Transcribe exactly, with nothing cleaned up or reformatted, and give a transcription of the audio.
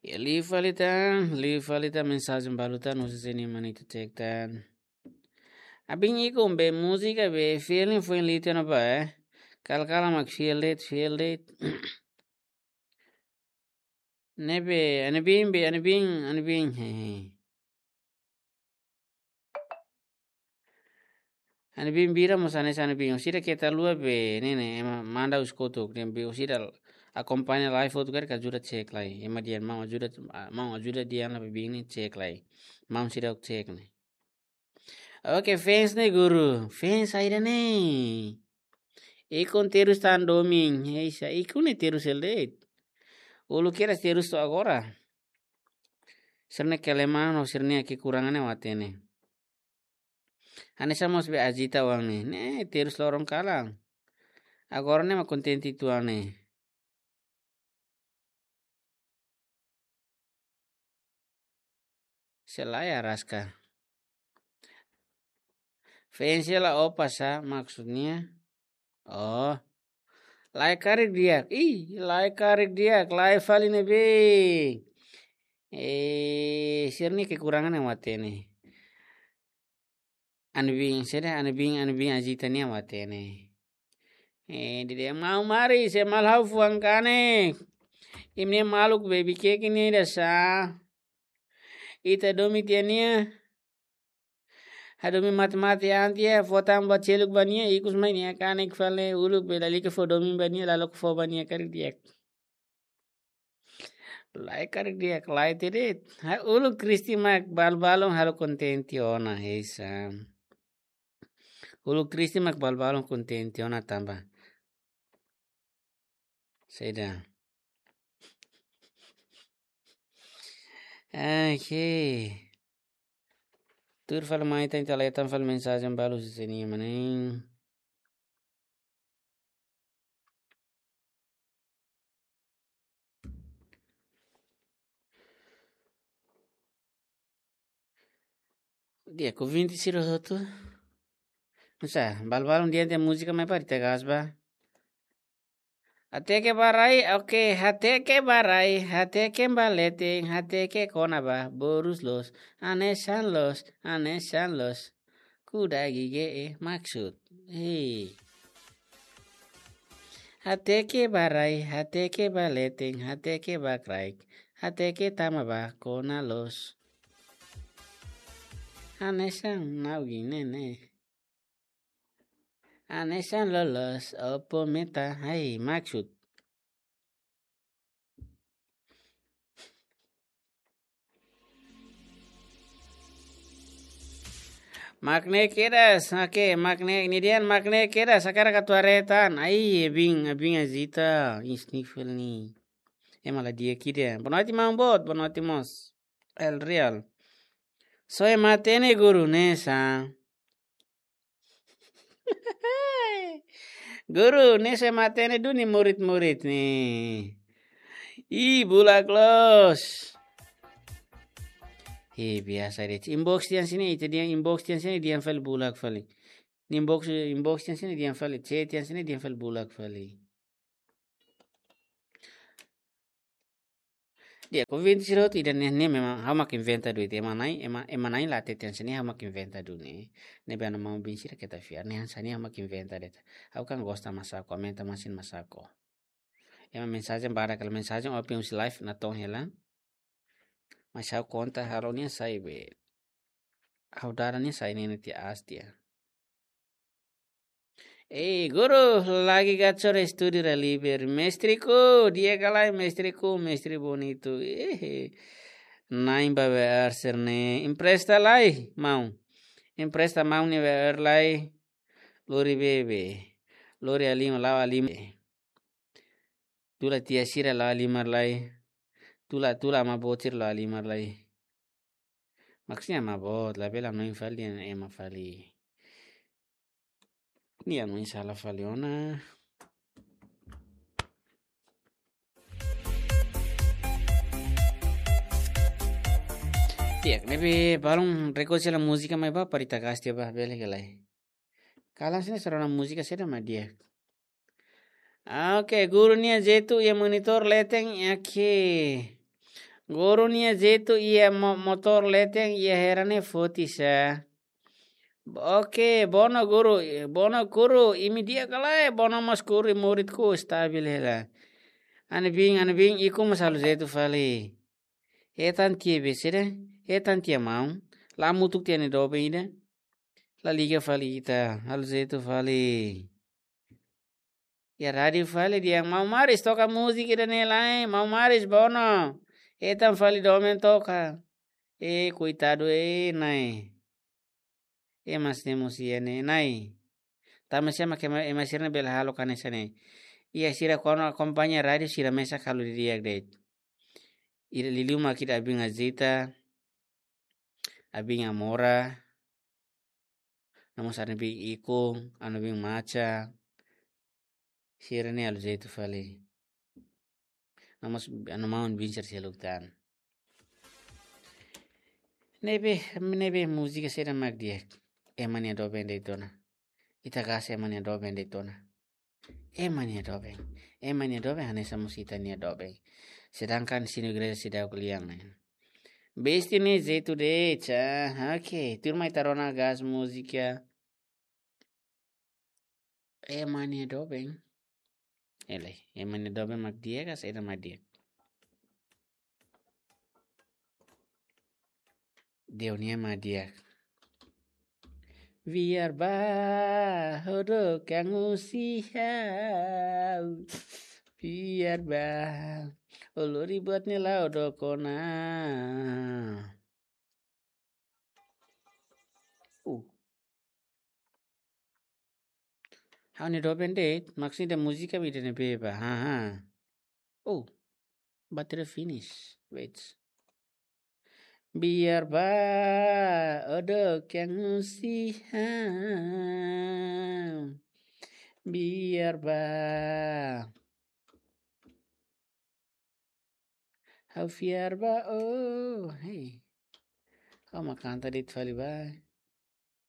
Ya, liu fali tan, liu fali tan, mensajen balu tan, husi sini mani tu cek tan. Abin ikun be múzika be feeling foi liu tan ba, eh. Kal kala mak feel it, feel it. Ne'ebé, anebin be, anebin, anebin, hehe. Anebin bira mós hanesan anebin. Orsida keta lua be, ne'e ne'e, ema manda os kotuk, ne'e be orsida akompaña live outro karik ajuda cek lai. Ema dehan maun ajuda, maun ajuda dehan la be bin ne'e cek lai. Maun sira cek ne'e. Oke, fans ne'e guru. Fans saida ne'e? Ikun terus tan domin. Heisa, ikun ne'e terus hela de'it. Uluk kedas terus to'o agora. Sira-nia kelemahan ho sira-nia kekurangan ne'e ó hatene. Hanesan mós be Azita oan ne'e. Ne'e terus loron kalan. Agora ne'e mak kontente uitoan ne'e. Se lae araska. Fans la opa sá maksudnya? Oh. Lae karik di'ak. Ih, lae karik di'ak. Lae fali ne'ebé. Eh, sira-nia kekurangan ne'e ó hatene. Anebin, saida, anebin, anebin Azita nian ó hatene. Eh, dehan maun mari, se mal ha'u fuan kanek. Imi-nia maluk be bikeke ne'e ida sá. Ita domin tiha nia. Hadomi mate-mate an tiha, fó tan ba seluk ba nia, ikus mai nia kanek fali uluk be lalika fó domin ba nia, lalika fó ba nia karik di'ak. Lae karik di'ak, lae tiha de'it. Ha, uluk Kristi mak balun-balun halo kontente ona, heisa. Uluk Kristi mak balun-balun kontente ona tanba saida. Oke. Tuir fali mai tan, ita leten fali mensajen balu husi sini mana. Dia ku vinte sira hotu. Nusa, balun-balun dehan múzika mai para ita gas ba. Hateke ba rai, oke, hateke ba rai, hateke ba leten, hateke kona-ba, borus loos, hanesan loos, hanesan loos. Kuda gige e maksud. Hei. Hateke ba rai, hateke ba leten, hateke ba kraik, hateke tama ba kona loos. Hanesan nau gine ne. Hanesan loloos, opo meta, hei, maksud. Mak ne'e kedas, oke, mak ne'e, nia dehan mak ne'e kedas, hakarak atu haree tan. Ai, abin, abin Azita, ih, sniffle ne'e. Ema la di'ak ida. Boa noite, maun boot, boa noite mós. El Real. Só ema hatene guru ne'e sá. Guru, ne'e só ema hatene duni murid-murid ne'e. Ih, bulak loos. Ih, biasa de'it. Inbox tiha hanesan ne'e, ita dehan inbox tiha hanesan ne'e, dehan fali bulak fali. Inbox, inbox tiha hanesan ne'e, dehan fali. Chat tiha hanesan ne'e, dehan fali bulak fali. Dia, ku vinte sira hotu ida ne'e, ne'e memang ha'u mak inventa duni, ema na'in, ema, ema na'in la hatete hanesan ne'e, ha'u mak inventa duni. Ne'ebé maun-bin sira keta fiar, ne'e hanesan ne'e ha'u mak inventa de'it. Ha'u kan gosta masaku, aumenta masin masaku. Ema mensajen barak, kalau mensajen open husi live natoon hela. Mas ha'u konta halo nia sai be. Ha'u dada nia sai ne'e tiha aas tiha. Eh, guru, lagi gachor estúdio da Liber. Mestriku, di'ak ka lae mestriku, mestre bonitu. Eh, na'in ba W R sira-ne'e. Empresta lai, maun. Empresta maun nia W R lai. Lori bebe. Lori halimar, la'o halimar. Tula tia sira la'o halimar lai. Tula, tula ama boot sira la'o halimar lai. Maksudnya ama boot, labele hanoin fali, ema fali. Nia hanoin sala fali ona. Di'ak, ne'ebé balun request hela múzika mai ba, para ita gas tiha ba, bele ka lae. Kalan sini sarana múzika saida mak di'ak. Ah, oke, guru nia jeitu iha monitor leten, oke. Guru nia jeitu iha mo-, motór leten iha hera ne'e foti sa. Oke, Bono guru, Bono kuru, imi di'ak ka lae, Bono mós kuru, muritku stabil hela. Ha'u-nia biin, ha'u-nia biin, ikus mós halo jeitu fali. Hetan tiha be saida, hetan tiha maun, la hamutuk tiha nia doben ida. La liga fali ita, halo jeitu fali. Iha rádiu fali dehan, Maun Maris toka múzika ida-ne'e lai, Maun Maris, Bono. Hetan fali doben toka. Eh, koitadu, eh, Na'i. Ema sira-ne'e mós iha ne'e, Na'i. Tanba sá mak ema, ema sira-ne'e bele halo hanesan ne'e. Iha sira kuandu akompaña rádiu sira mesak halo didi'ak de'it. Ida liuliu mak ita, ha'u-nia biin Azita, ha'u-nia biin Amora, no mós ha'u-nia biin Ikun, ha'u-nia biin Macha, sira-ne'e halo jeitu fali. No mós ha'u-nia maun biin sira seluk tan. Ne'ebé, ne'ebé múzika saida mak di'ak. Ema nia doben de'it ona. Ita gasta ema nia doben de'it ona. Ema nia doben. Ema nia doben hanesan mós ita-nia doben. Sedangkan sinu gereja seidauk lian ne'e. Besti ne'e jeitu de'it sa. Oke, tuirmai ita rona gasta múzika. Ema nia doben. Ele, ema nia doben mak di'ak ka saida mak di'ak? Dehan nia mak di'ak. Fiar ba, ha'u dook iha husi ha'u. Fiar ba, o lori buat ne'e la'o dook ona. Uh. Ha'u-nia doben de'it, maksudnya múzika ida-ne'ebé ba. Ha, ha. Oh, bateria finish. Wait. Fiar ba, o dook iha husi ha'u. Fiar ba. Ha'u fiar ba, oh, hey. Ha'u mak kanta de'it fali ba.